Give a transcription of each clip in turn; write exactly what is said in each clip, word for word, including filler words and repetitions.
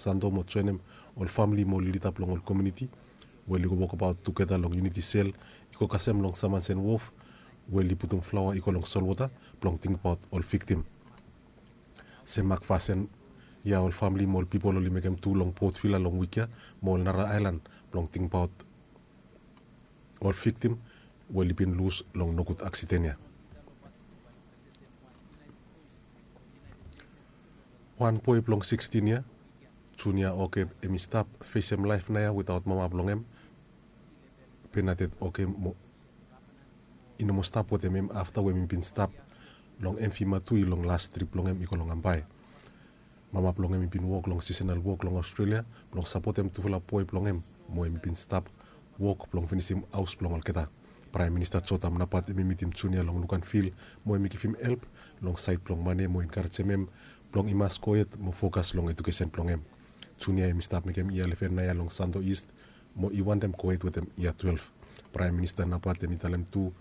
Sando mo joenem ol famili mo ol lida blong ol komuniti we oli go wokbaot tugeta long Unity Cell i go kasem long Samansen Wharf we oli putum flaoa i go long solwota blong tingbaot ol viktim. Se mak fasin ya ol famili mo ol pipol oli mekem tu long Port Vila long wik ya mo ol nara aelan blong tingbaot ol viktim we oli bin lus long nogud aksiden ya. Wan boe blong sikstin yia, Junior Oke, hem i stap fesem laef naoia witaot mama blong hem, Bernadette Oke, mo i no moa stap wetem hem afta we hem i bin stap long Emfi Matui long las trip blong hem i go long Ambae. Mama blong hem i bin wok long sisonal wok long Australia blong sapotem tufala boe blong hem, mo hem i bin stap wok blong finisim haos blong olgeta. Praem Minista Jotam Napat hem i mitim Junior long Luganville mo hem i givim help long saed blong mane mo enkarejem hem blong i mas gohed mo fokas long ejukesen blong hem. Junior hem i stap mekem yia leven naoia long Sando East mo i wantem gohed wetem yia twelef. Praem Minista Napat hem i talem tu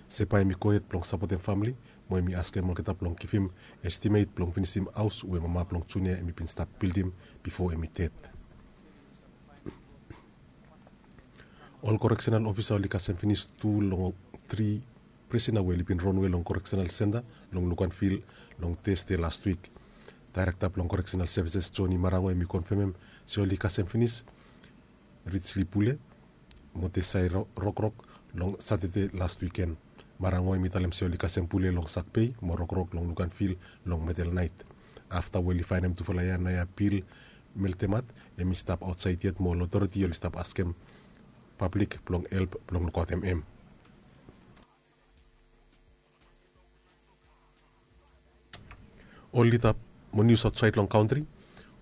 se bae hem i gohed blong sapotem famili mo hem i askem olgeta blong givim estimet blong finisim haos we mama blong Junior hem i bin stap bildim bifo hem i ded. Ol koreksenal ofisa oli kasem finis tu long tri prisona we oli bin ronwe long koreksenal senta long Luganville long Tasde las wik. Daerekta blong Koreksenal Sevises Joni Marango hem i konfemem se oli kasem finis Rijli Pule mo Tesai Ro- Rokrok long Satade las wiken. Marango hem i talem se oli kasem Pule long Sakbei mo Rokrok long Luganville long medel naet. Afta we oli faenem tufala ya naoia Bill Meltemat hem i stap aotsaed yet mo ol otoriti oli stap askem pablik blong help blong lukaotem hem. Ol lida mo nius aotsaed long kantri,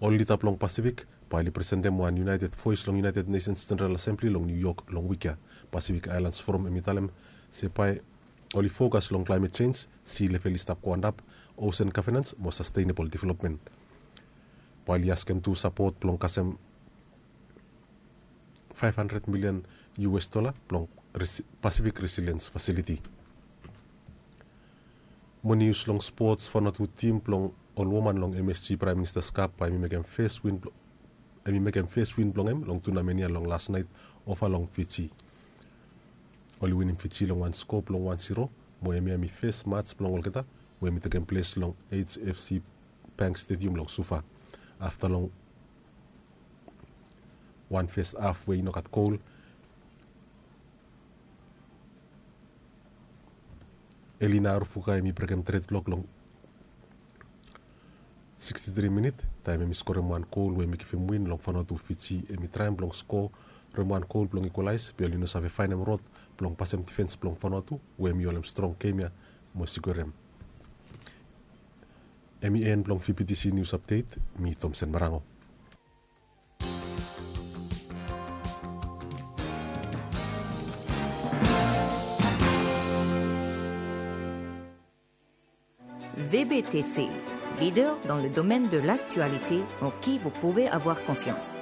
ol lida blong Pasifik bae oli presentem wan United Voice long United Nations General Assembly long New York long wik ya. Pacific Islands Forum hem i talem se bae oli fokas long climate change, sea level i stap go antap, ocean governance mo sustainable development. Bae oli askem tu sapot blong kasem five hundred million U S dollar blong Pacific Resilience Facility. Mo nius long spots, Vanuatu tim blong ol woman long M S G Praem Minista Cup bae hem i mekem fes win blong hem long tunamen ya long las naet ova long Fiji. Oli winim Fiji long wan sko blong wan zero mo hemia hem i fes mats blong olgeta we hem i tekem ples long H F C Bank Stadium long Suva. Afta long wan fes haf we i no gat gol, Elina Arufuka hem i brekem tred blok long siksti tri minit taem hem i skorem wan gol we hem i givim win long Vanuatu. Fiji hem i traem blong skorem wan gol blong ikwalaes be oli no save faenem rod blong pasem difens blong Vanuatu we hem i holem strong gem ya mo skorem. Hem i en blong V B T C News Update. Mi Tomsen Marango. V B T C, leader dans le domaine de l'actualité en qui vous pouvez avoir confiance.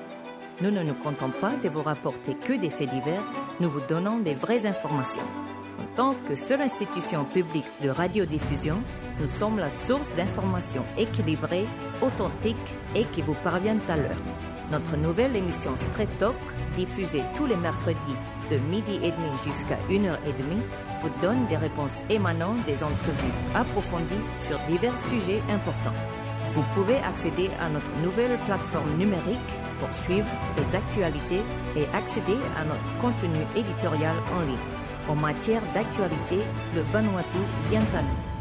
Nous ne nous contentons pas de vous rapporter que des faits divers, nous vous donnons des vraies informations. En tant que seule institution publique de radiodiffusion, nous sommes la source d'informations équilibrées, authentiques et qui vous parviennent à l'heure. Notre nouvelle émission Straight Talk, diffusée tous les mercredis de midi et demi jusqu'à une heure et demie, vous donne des réponses émanant des entrevues approfondies sur divers sujets importants. Vous pouvez accéder à notre nouvelle plateforme numérique pour suivre les actualités et accéder à notre contenu éditorial en ligne. En matière d'actualité, le Vanuatu vient à nous.